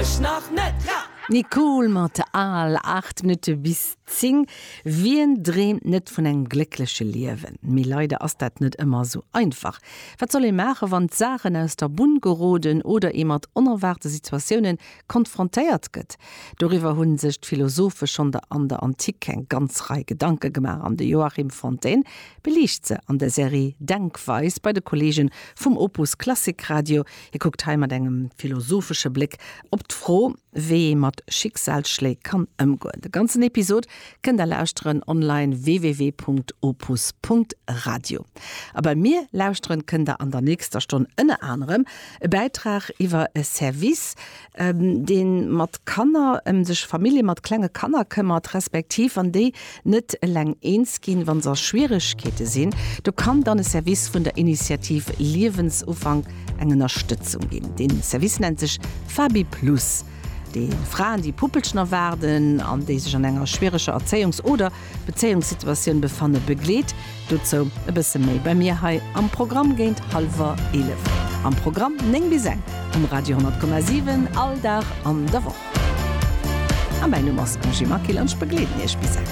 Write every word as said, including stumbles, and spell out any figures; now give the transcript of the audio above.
Ech nach net. D'Nicole mat Al, aacht Minutte bis zéng. Wien dreemt net vun engem gléckleche Liewen? Mee leider ass dat net ëmmer esou einfach. Wat soll ee maachen, wann d'Saachen aus der Bunn geroden oder ee mat onerwaarte Situatioune konfrontéiert gëtt? Doriwwer hu sech d'Philosophe schonn an der Antik eng ganz Rei Gedanke gemaach an de Joachim Fontaine beliicht se an der Serie Denkweis bei de Kolleege vum Opus Klassik Radio. Hie kuckt hei mat engem philosophesche Bléck op d'Fro, wéi ee mat Schicksalsschléi kann ëmgoen. De ganzen Episod kënnt der lauschteren online www.opus.radio. A bei mir lauschteren kënnt der an der nächster Stonn ënner anerem e Bäitrag iwwer e Service, dee mat Kanner ëm sech Famillje mat klenge Kanner këmmert, respektiv wann déi net eleng eens ginn, wa se a Schwieregkeete sinn. Do kann dann e Service vun der Initiativ Liewensufank eng Ënnerstëtzung ginn. Dee Service nennt sech FabiPlus. Dee Fraen, déi Puppelchen erwaarden an déi sech an enger schwiereger Erzéiungs oder Bezéiungssituatioun befanne begleet. Dozou e bësse méi bei mir hei am Programm géint hallwer eelef. Am Programm néng bis eng um Radio honnert Komma siwen all Dag an der Woch. A mäin Numm ass Angie Maquil an ech begleeden Iech bis eng.